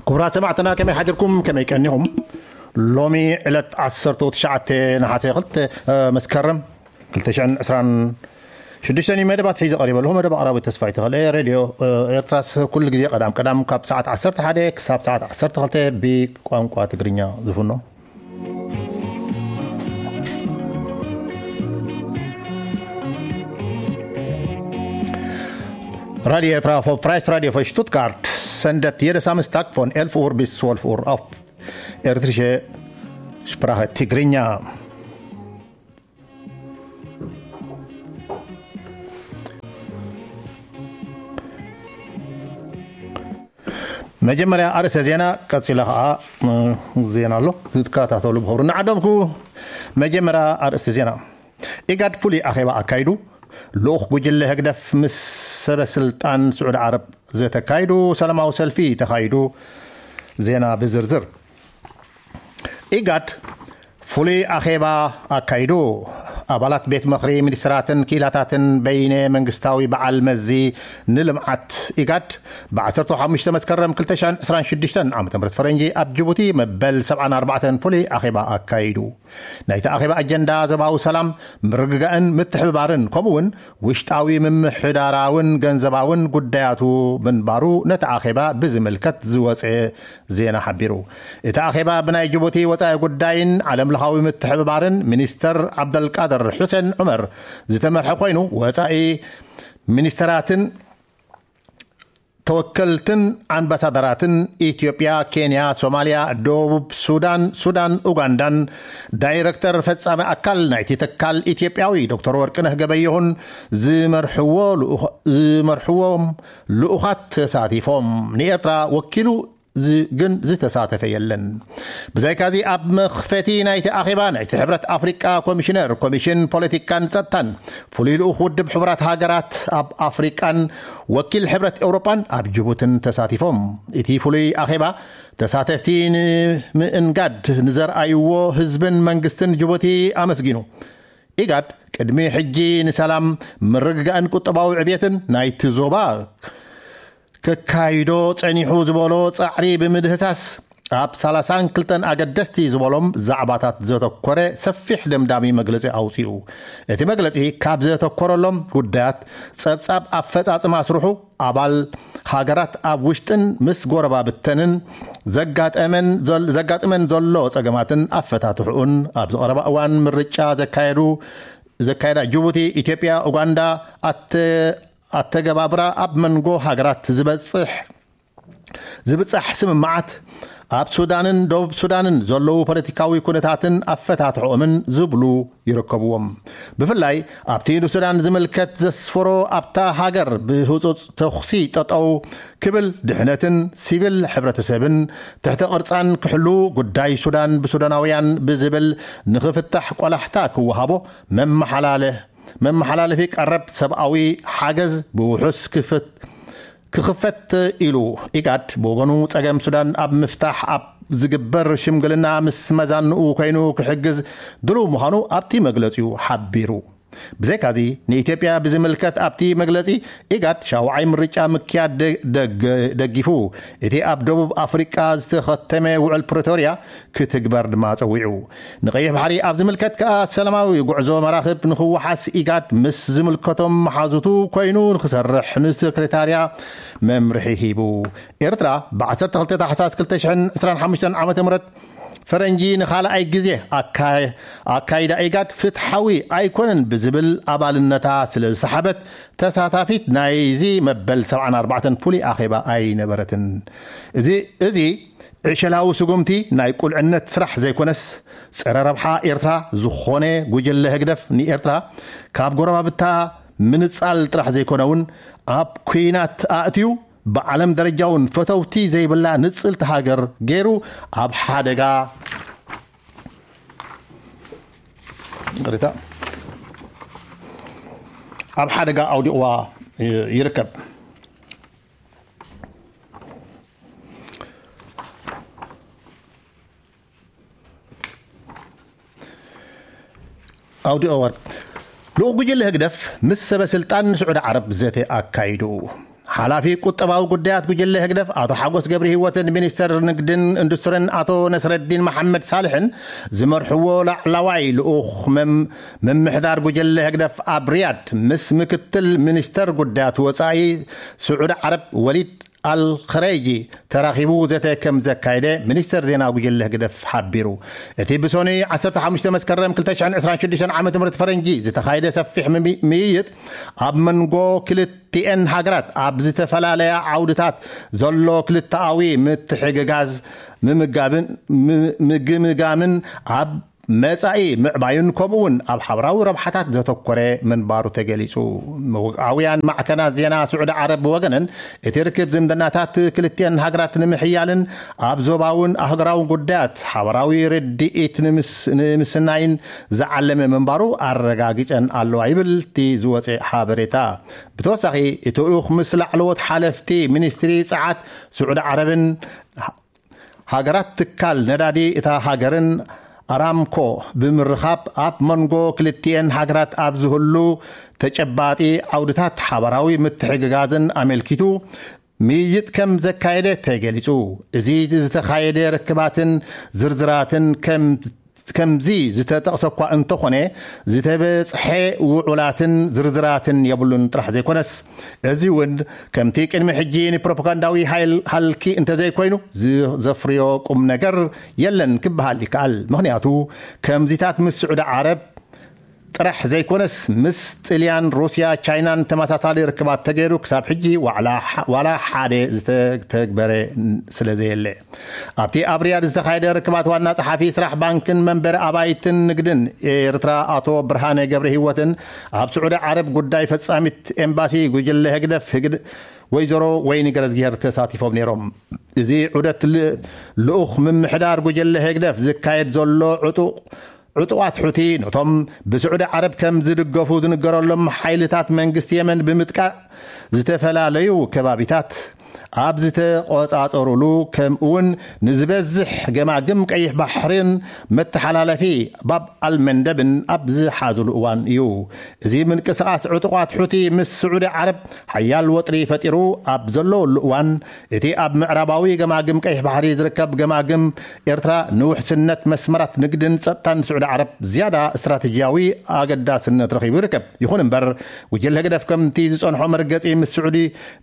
ክቡራት ሰማዕትና፣ ከመይ ሓዲርኩም? ከመይ ቀኒኹም? ሎሚ ዕለት ዓሰርተ ትሽዓተ ነሓሰ ክልተ፣ እ፣ መስከረም ክልተ ሽሕን ዕስራን ሽዱሽተን እዩ። መደባት ሒዘ ቀሪበ ኣለኹ። መደብ ኣቕራቢ ተስፋይ ተኽለ። ሬድዮ፣ እ፣ ኤርትራስ ኩሉ ግዜ ቀዳም ቀዳም ካብ ሰዓት ዓሰርተ ሓደ ክሳብ ሰዓት ዓሰርተ ክልተ ብቋንቋ ትግርኛ ዝፍኖ። Radio Ertra för Fräs Radio för Stuttgart sendet jede Samstag från elf Uhr bis zwölf Uhr auf Ertrische Sprache Tigrinya. መጀመርያ ኣርእስተ ዜና፣ ቀጺላ ኸዓ፣ እ፣ ዜና ኣሎ፣ ክትከታተሉ ብኽብሪ እናዓደምኩ። መጀመርያ ኣርእስተ ዜና። ኢጋድ ፍሉይ ኣኼባ ኣካይዱ። ልኡኽ ጉጅለ ህግደፍ ምስ ሰበ ስልጣን ስዑዲ ዓረብ ዘተካይዱ ሰላማዊ ሰልፊ ተኻይዱ። ዜና ብዝርዝር። ኢጋድ ፍሉይ ኣኼባ ኣካይዱ። ኣባላት ቤት ምኽሪ ሚኒስትራትን ክኢላታትን በይነ መንግስታዊ በዓል መዚ ንልምዓት ኢጋድ ብ ዓሰርተ ሓሙሽተ መስከረም ክልተ ሽሕን ዕስራን ሽዱሽተን ዓመተ ምህረት ፈረንጂ ኣብ ጅቡቲ መበል ሰብዓን ኣርባዕተን ፍሉይ ኣኼባ ኣካይዱ። ናይቲ ኣኼባ ኣጀንዳ ዞባዊ ሰላም፣ ምርግጋእን ምትሕብባርን ከምኡ እውን ውሽጣዊ ምምሕዳራውን ገንዘባውን ጉዳያቱ ምንባሩ ነቲ ኣኼባ ብዝምልከት ዝወጸ ዜና ሓቢሩ። እቲ ኣኼባ ብናይ ጅቡቲ ወጻኢ ጉዳይን ዓለምለኻዊ ምትሕብባርን ሚኒስተር ዓብደልቃድር ሑሴን ዑመር ዝተመርሐ ኮይኑ፣ ወጻኢ ሚኒስተራትን ተወከልትን ኣምባሳደራትን ኢትዮጵያ፣ ኬንያ፣ ሶማልያ፣ ደቡብ ሱዳን፣ ሱዳን፣ ኡጋንዳን ዳይረክተር ፈጻሚ ኣካል ናይቲ ትካል ኢትዮጵያዊ ዶክተር ወርቅነህ ገበየሁን ዝመርሕዎ ልኡኽ-፣ ዝመርሕዎም ልኡኻት ተሳቲፎም። ንኤርትራ ወኪሉ ዝ-፣ ግን ዝተሳተፈ የለን። ብዛይካዚ ኣብ መኽፈቲ ናይቲ ኣኼባ ናይቲ ሕብረት ኣፍሪቃ ኮሚሽነር ኮሚሽን ፖለቲካን ጸጥታን ፍሉይ ልኡኽ ውድብ ሕቡራት ሃገራት ኣብ ኣፍሪቃን ወኪል ሕብረት ኤውሮጳን ኣብ ጅቡትን ተሳቲፎም። እቲ ፍሉይ ኣኼባ ተሳተፍቲ ንምእንጋድ ንዘርኣይዎ ህዝብን መንግስትን ጅቡቲ ኣመስጊኑ። ኢጋድ ቅድሚ ሕጂ ንሰላም፣ ምርግጋእን ቁጠባዊ ዕብየትን ናይቲ ዞባ ከካይዶ ጸኒሑ ዝበሎ ጻዕሪ ብምህሳስ፣ ኣብ ሰላሳን ክልተን ኣገደስቲ ዝበሎም ዛዕባታት ዘተኮረ ሰፊሕ ደምዳሚ መግለጺ ኣውጺኡ። እቲ መግለጺ ካብ ዘተኮረሎም ጉዳያት፣ ጸብጻብ ኣፈጻጽማ ስርሑ፣ ኣባል ሃገራት ኣብ ውሽጥን ምስ ጎረባብተንን ዘጋጠመን ዘል-፣ ዘጋጥመን ዘሎ ጸገማትን ኣፈታትሕኡን ኣብ ዝቐረባ እዋን ምርጫ ዘካየዱ፣ ዘካየዳ ጅቡቲ፣ ኢትዮጵያ፣ ኡጋንዳ ኣተ-፣ ኣተገባብራ ኣብ መንጎ ሃገራት ዝበጽሕ፣ ዝብጻሕ ስምምዓት፣ ኣብ ሱዳንን ደቡብ ሱዳንን ዘለዉ ፖለቲካዊ ኩነታትን ኣፈታትሕኦምን ዝብሉ ይርከብዎም። ብፍላይ ኣብቲ ንሱዳን ዝምልከት ዘስፈሮ፣ ኣብታ ሃገር ብህጹጽ ተኹሲ ጠጠው ክብል፣ ድሕነትን ሲቪል ሕብረተሰብን ትሕተ ቅርጻን ክሕሉ፣ ጉዳይ ሱዳን ብሱዳናውያን ብዝብል ንኽፍታሕ ቆላሕታ ክወሃቦ፣ መመሓላለ-፣ መመሓላለፊ ቀረብ ሰብኣዊ ሓገዝ ብውሑስ ክፍት-፣ ክኽፈት ኢሉ። ኢጋድ ብወገኑ፣ ጸገም ሱዳን ኣብ ምፍታሕ ኣብ ዝግበር ሽምግልና ምስ መዛንኡ ኮይኑ ክሕግዝ ድሉው ምዃኑ ኣብቲ መግለጺኡ ሓቢሩ። ብዘይካዚ፣ ንኢትዮጵያ ብዝምልከት ኣብቲ መግለጺ፣ ኢጋድ ሻውዓይ ምርጫ ምክያድ ደ-፣ ደግ-፣ ደጊፉ፣ እቲ ኣብ ደቡብ ኣፍሪቃ ዝተኸተመ ውዕል ፕሪቶርያ ክትግበር ድማ ጸዊዑ። ንቀይሕ ባሕሪ ኣብ ዝምልከት ከኣ፣ ሰላማዊ ጉዕዞ መራኽብ ንኽወሓስ ኢጋድ ምስ ዝምልከቶም መሓዙቱ ኮይኑ ንኽሰርሕ ንሰክሬታርያ መምርሒ ሂቡ። ኤርትራ ብ ዓሰርተ ክልተ ታሕሳስ ክልተ ሽሕን ዕስራን ሓሙሽተን ዓመተ ምህረት ፈረንጂ ንኻልኣይ ግዜ ኣካ-፣ ኣካይዳ ኢጋድ ፍትሓዊ ኣይኮነን ብዝብል ኣባልነታ ስለ ዝሰሓበት፣ ተሳታፊት ናይዚ መበል ሰብዓን ኣርባዕተን ፍሉይ ኣኼባ ኣይነበረትን። እዚ፣ እዚ ዕሸላዊ ስጉምቲ ናይ ቁልዕነት ስራሕ ዘይኮነስ፣ ጸረ ረብሓ ኤርትራ ዝኾነ ጉጅለ ህግደፍ፣ ንኤርትራ ካብ ጎረባብታ ምንጻል ጥራሕ ዘይኮነ እውን፣ ኣብ ኲናት ኣእትዩ፣ ብዓለም ደረጃ እውን ፈተውቲ ዘይብላ ንጽልቲ ሃገር ገይሩ ኣብ ሓደጋ፣ ይቕሬታ፣ ኣብ ሓደጋ ኣውዲቕዋ ይርከብ። ኣውዲኦ ወርቅ። ልኡኽ ጉጅለ ህግደፍ ምስ ሰበ ስልጣን ስዑዲ ዓረብ ዘተ ኣካይዱ። ሓላፊ ቁጠባዊ ጉዳያት ጉጅለ ህግደፍ ኣቶ ሓጎስ ገብረ ህይወትን ሚኒስተር ንግድን ኢንዱስትሪን ኣቶ ነስረዲን መሓመድ ሳልሕን ዝመርሕዎ ላዕላዋይ ልኡኽ መም- ምምሕዳር ጉጅለ ህግደፍ ኣብ ሪያድ ምስ ምክትል ሚኒስተር ጉዳያት ወጻኢ ስዑዲ ዓረብ ወሊድ ኣልኸረይጂ ተራኺቡ ዘተ ከም ዘካየደ ሚኒስተር ዜና ጉጅለ ህግደፍ ሓቢሩ። እቲ ብሶኒ ዓሰርተ ሓሙሽተ መስከረም ክልተ ሽሕን ዕስራን ሽዱሽተን ዓመተ ምህረት ፈረንጂ ዝተኻየደ ሰፊሕ ምሚ- ምይይጥ ኣብ መንጎ ክልቲኤን ሃገራት ኣብ ዝተፈላለያ ዓውድታት ዘሎ ክልተኣዊ ምትሕግጋዝ ምምጋብን ም- ምግምጋምን ኣብ መጻኢ ምዕባዩን ከምኡ እውን ኣብ ሓበራዊ ረብሓታት ዘተኮረ ምንባሩ ተገሊጹ። መውዓውያን ማዕከናት ዜና ስዑዲ ዓረብ ብወገነን እቲ ርክብ ዝምድናታት ክልቲኤን ሃገራት ንምሕያልን ኣብ ዞባውን ኣህጉራውን ጉዳያት ሓበራዊ ርድኢት ንምስ- ንምስናይን ዝዓለመ ምንባሩ ኣረጋጊጸን ኣለዋ ይብል እቲ ዝወጸ ሓበሬታ። ብተወሳኺ እቲ ልኡኽ ምስ ላዕለዎት ሓለፍቲ ሚኒስትሪ ጸዓት ስዑዲ ዓረብን ሃገራት ትካል ነዳዲ እታ ሃገርን ኣራምኮ ብምርኻብ ኣብ መንጎ ክልቲኤን ሃገራት ኣብ ዝህሉ ተጨባጢ ዓውድታት ሓበራዊ ምትሕግጋዝን ኣመልኪቱ ምይይጥ ከም ዘካየደ ተገሊጹ። እዚ ዝተኻየደ ርክባትን ዝርዝራትን ከም ከምዚ ዝተጠቕሰ እኳ እንተኾነ ዝተበጽሐ ውዑላትን ዝርዝራትን የብሉን ጥራሕ ዘይኮነስ እዚ እውን ከምቲ ቅድሚ ሕጂ ንፕሮፓጋንዳዊ ሃይል ሃልኪ እንተዘይኮይኑ ዘፍርዮ ቁም ነገር የለን ክበሃል ይከኣል። ምኽንያቱ ከምዚታት ምስ ስዑዲ ዓረብ ጥራሕ ዘይኮነስ ምስ ጥልያን፣ ሩስያ፣ ቻይናን ተመሳሳሊ ርክባት ተገይሩ ክሳብ ሕጂ ዋላ ሓደ ዝተተግበረ ስለዘየለ ኣብቲ ኣብ ሪያድ ዝተኻየደ ርክባት ዋና ጸሓፊ ስራሕ ባንክን መንበሪ ኣባይትን ንግድን ኤርትራ ኣቶ ብርሃነ ገብረ ህይወትን ኣብ ስዑዲ ዓረብ ጉዳይ ፈጻሚት ኤምባሲ ጉጅለ ህግደፍ ህግድ ወይዘሮ ወይኒ ገረዝጊሄር ተሳቲፎም ነይሮም። እዚ ዑደት ልኡኽ ምምሕዳር ጉጅለ ህግደፍ ዝካየድ ዘሎ ዕጡቕ ዕጡቓት ሑቲ ነቶም ብስዑዲ ዓረብ ከም ዝድገፉ ዝንገረሎም ሓይልታት መንግስቲ የመን ብምጥቃዕ ዝተፈላለዩ ከባቢታት ኣብ ዝተቆጻጸሩሉ ከምኡውን ንዝበዝሕ ገማግም ቀይሕ ባሕርን መተሓላለፊ ባብ ኣልመንደብን ኣብ ዝሓዙሉ እዋን እዩ። እዚ ምንቅስቓስ ዕጡቓት ሑቲ ምስ ስዑዲ ዓረብ ሓያል ወጥሪ ፈጢሩ ኣብ ዘለወሉ እዋን እቲ ኣብ ምዕራባዊ ገማግም ቀይሕ ባሕሪ ዝርከብ ገማግም ኤርትራ ንውሕስነት መስመራት ንግድን ጸጥታን ስዑዲ ዓረብ ዝያዳ ስትራተጂያዊ ኣገዳስነት ረኺቡ ይርከብ። ይኹን እምበር ጉጅለ ህግደፍ ከምቲ ዝጸንሖ መርገጺ ምስ ስዑዲ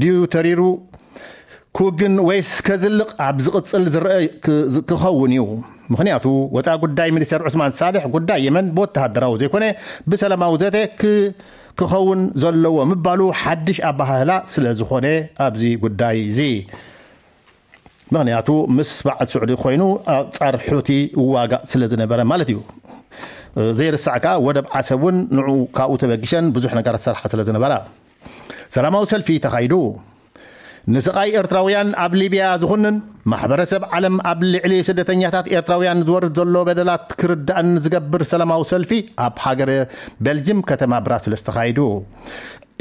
ድዩ ተሪሩ ክውግን ወይስ ከዝልቕ ኣብ ዝቕጽል ዝረአ ክኸውን እዩ። ምኽንያቱ ወፃኢ ጉዳይ ሚኒስተር ዑስማን ሳልሕ ጉዳይ የመን ብወተሃደራዊ ዘይኮነ ብሰላማዊ ዘተ ክኸውን ዘለዎ ምባሉ ሓድሽ ኣባሃህላ ስለ ዝኾነ ኣብዚ ጉዳይ እዚ ምኽንያቱ ምስ በዓል ስዑዲ ኮይኑ ኣፃር ሑቲ ዋጋ ስለ ዝነበረ ማለት እዩ። ዘይርሳዕ ከዓ ወደብ ዓሰብ እውን ንዑ ካብኡ ተበጊሸን ብዙሕ ነገራት ዝሰርሓ ስለ ዝነበራ ሰላማዊ ሰልፊ ተኻይዱ። ንስቓይ ኤርትራውያን ኣብ ሊብያ ዝኹንን ማሕበረሰብ ዓለም ኣብ ልዕሊ ስደተኛታት ኤርትራውያን ዝወርድ ዘሎ በደላት ክርዳእን ዝገብር ሰላማዊ ሰልፊ ኣብ ሃገረ ቤልጅም ከተማ ብራስልስ ተኻይዱ።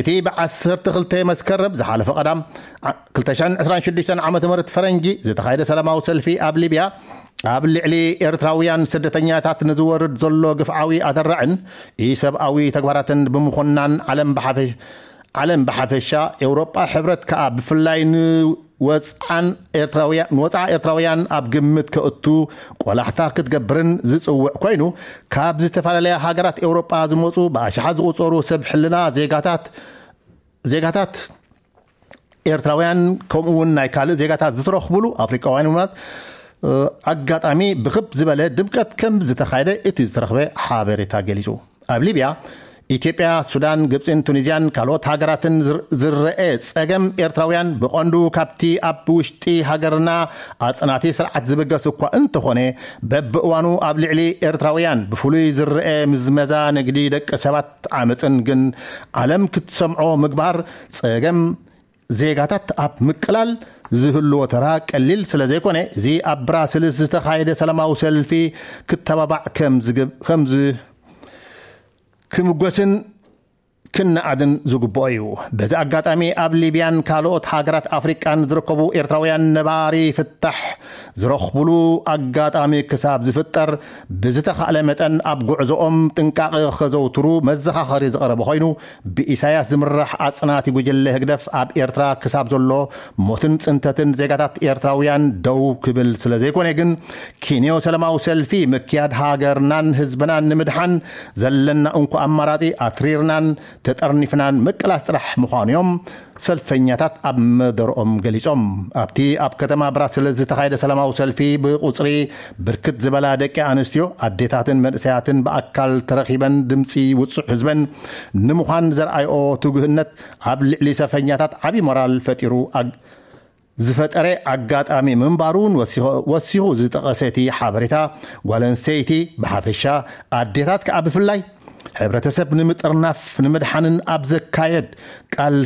እቲ ብ12 መስከረም ዝሓለፈ ቀዳም 2026 ዓ ም ፈረንጂ ዝተኻየደ ሰላማዊ ሰልፊ ኣብ ሊብያ ኣብ ልዕሊ ኤርትራውያን ስደተኛታት ንዝወርድ ዘሎ ግፍዓዊ ኣተራዕን ኢሰብኣዊ ተግባራትን ብምኹናን ዓለም ብሓፈ ዓለም ብሓፈሻ ኤውሮጳ ሕብረት ከኣ ብፍላይ ንወፅዓን ኤርትራውያን ንወፅዓ ኤርትራውያን ኣብ ግምት ከእቱ ቆላሕታ ክትገብርን ዝፅውዕ ኮይኑ ካብ ዝተፈላለያ ሃገራት ኤውሮጳ ዝመፁ ብኣሽሓት ዝቑፀሩ ሰብ ሕልና ዜጋታት ዜጋታት ኤርትራውያን ከምኡ እውን ናይ ካልእ ዜጋታት ዝተረኽብሉ ኣፍሪቃውያን ውናት ኣጋጣሚ ብክብ ዝበለ ድምቀት ከም ዝተኻየደ እቲ ዝተረኽበ ሓበሬታ ገሊጹ። ኣብ ሊብያ ኢትዮጵያ፣ ሱዳን፣ ግብፅን ቱኒዝያን ካልኦት ሃገራትን ዝረአ ፀገም ኤርትራውያን ብቐንዱ ካብቲ ኣብ ውሽጢ ሃገርና ኣፅናቲ ስርዓት ዝብገስ እኳ እንተኾነ በብእዋኑ ኣብ ልዕሊ ኤርትራውያን ብፍሉይ ዝረአ ምዝመዛ ንግዲ ደቂ ሰባት ዓመፅን ግን ዓለም ክትሰምዖ ምግባር ፀገም ዜጋታት ኣብ ምቅላል ዝህልዎ ተራ ቀሊል ስለ ዘይኮነ እዚ ኣብ ብራስልስ ዝተኻየደ ሰላማዊ ሰልፊ ክተባባዕ ከም ዝግብ ከም ዝ ክምጎስን ክነኣድን ዝግብኦ እዩ። በዚ ኣጋጣሚ ኣብ ሊብያን ካልኦት ሃገራት ኣፍሪቃን ዝርከቡ ኤርትራውያን ነባሪ ፍታሕ ዝረኽብሉ ኣጋጣሚ ክሳብ ዝፍጠር ብዝተኻእለ መጠን ኣብ ጉዕዞኦም ጥንቃቐ ከዘውትሩ መዘኻኸሪ ዝቐረበ ኮይኑ፣ ብኢሳያስ ዝምራሕ ኣጽናቲ ጉጅለ ህግደፍ ኣብ ኤርትራ ክሳብ ዘሎ ሞትን ጽንተትን ዜጋታት ኤርትራውያን ደው ክብል ስለ ዘይኮነ ግን፣ ኪንዮ ሰላማዊ ሰልፊ ምክያድ ሃገርናን ህዝብናን ንምድሓን ዘለና እንኮ ኣማራጺ ኣትሪርናን ተጠርኒፍናን ምቅላስ ጥራሕ ምዃኑ እዮም ሰልፈኛታት ኣብ መደርኦም ገሊጾም። ኣብቲ ኣብ ከተማ ብራስልስ ዝተኻየደ ሰላማዊ ሰልፊ ብቁጽሪ ብርክት ዝበላ ደቂ ኣንስትዮ፣ ኣዴታትን መንእሰያትን ብኣካል ተረኺበን ድምጺ ውጹዕ ህዝበን ንምዃን ዘርኣይኦ ትጉህነት ኣብ ልዕሊ ሰልፈኛታት ዓቢ ሞራል ፈጢሩ ኣግ-፣ ዝፈጠረ ኣጋጣሚ ምንባሩ እውን ወሲኹ፣ ወሲኹ ዝጠቐሰ እቲ ሓበሬታ፣ ጓል ኣንስተይቲ ብሓፈሻ ኣዴታት ከኣ ብፍላይ ሕብረተሰብ ንምጥርናፍ ንምድሓንን ኣብ ዘካየድ ቃል